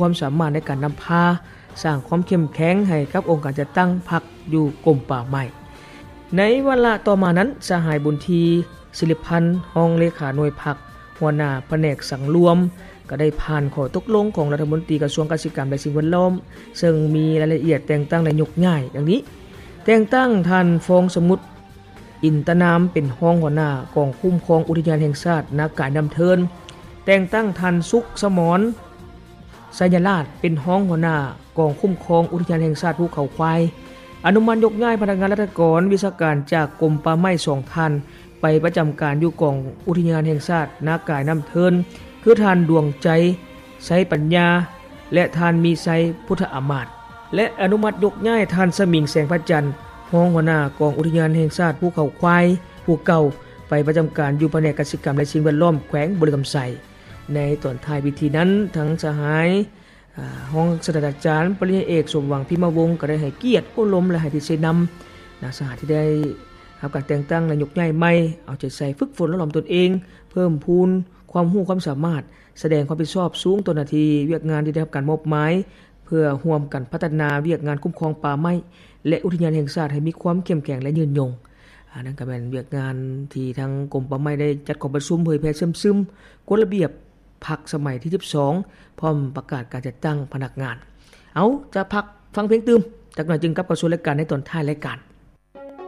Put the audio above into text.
ຄວາມສາມາດໃນການນຳພາ ສ້າງຄວາມເຂັ້ມແຂງໃຫ້ກັບອົງການຈັດຕັ້ງພັກຢູ່ກົມປ່າໄມ້. ໃນວາລະຕໍ່ມານັ້ນ, ສະຫາຍ ບຸນທີ ສິລິພັນ ຮອງເລຂາໜ່ວຍພັກ ຫົວໜ້າພະແນກສັງລວມ ກໍໄດ້ຜ່ານຂໍ້ຕົກລົງຂອງລັດຖະມົນຕີກະຊວງກະສິກຳ ແລະ ສິ່ງແວດລ້ອມ ເຊິ່ງມີລາຍລະອຽດແຕ່ງຕັ້ງ ແລະ ຍົກຍ້າຍດັ່ງນີ້: ແຕ່ງຕັ້ງທ່ານ ຟອງສະໝຸດ ອິນຕະນາມ ເປັນຮອງຫົວໜ້າກອງຄຸ້ມຄອງອຸທິຍານແຫ່ງຊາດນາກາຍນ້ຳເທີນ, ແຕ່ງຕັ້ງທ່ານ ສຸກສະໝອນ ໄຊຍະລາດ ເປັນຮອງຫົວໜ້າກອງຄຸ້ມຄອງອຸທິຍານແຫ່ງຊາດພູເຂົາຄວາຍ, ອະນຸມັດຍົກຍ້າຍພະນັກງານລັດຖະກອນວິຊາການຈາກກົມປ່າໄມ້ສອງທ່ານ ໄປປະຈຳການຢູ່ກອງອຸທິຍານແຫ່ງຊາດນາກາຍນ້ຳເທີນ ຄືທ່ານ ດວງໃຈ ໄຊປັນຍາ ແລະ ທ່ານ ມີໄຊ ພຸດທະອາມາດ ແລະ ອະນຸມັດຍົກຍ້າຍທ່ານ ສະໝິງ ແສງພະຈັນ ຮອງຫົວໜ້າກອງອຸທິຍານແຫ່ງຊາດພູເຂົາຄວາຍຜູ້ເກົ່າ ໄປປະຈຳການຢູ່ພະແນກກະສິກຳ ແລະ ສິ່ງແວດລ້ອມ ແຂວງບໍລິຄຳໄຊ. ໃນຕອນທ້າຍພິທີນັ້ນ, ທັງສະຫາຍ ອາ ຮອງສາດສະດາຈານ ປະລິນຍາເອກ ສົມຫວັງ ພິມມະວົງ ກໍໄດ້ໃຫ້ກຽດໂອ້ລົມ ແລະ ໃຫ້ທິດຊີ້ນຳ ນາສະຫາຍທີ່ໄດ້ຮັບການແຕ່ງຕັ້ງ ແລະ ຍົກຍ້າຍໃໝ່ ເອົາໃຈໃສ່ຝຶກຝົນຫຼໍ່ຫຼອມຕົນເອງ, ເພີ່ມພູນຄວາມຮູ້ຄວາມສາມາດ, ສະແດງຄວາມຮັບຜິດຊອບສູງຕໍ່ໜ້າທີ່ວຽກງານທີ່ໄດ້ຮັບການມອບໝາຍ ເພື່ອຮ່ວມກັນພັດທະນາວຽກງານຄຸ້ມຄອງປ່າໄມ້ ແລະ ອຸທິຍານແຫ່ງຊາດໃຫ້ມີຄວາມເຂັ້ມແຂງ ແລະ ຍືນຍົງ. ອັນນັ້ນກໍແມ່ນວຽກງານທີ່ທາງກົມປ່າໄມ້ໄດ້ຈັດກອງປະຊຸມເຜີຍແຜ່ເຊື່ອມຊຶມກົດລະບຽບພັກສະໄໝທີສິບສອງ ພ້ອມປະກາດການຈັດຕັ້ງພະນັກງານ. ເອົາ, ຈະພັກຟັງເພງຕື່ມຈັກໜ້ອຍ ຈຶ່ງກັບເຂົ້າສູ່ລາຍການໃນຕອນທ້າຍລາຍການ.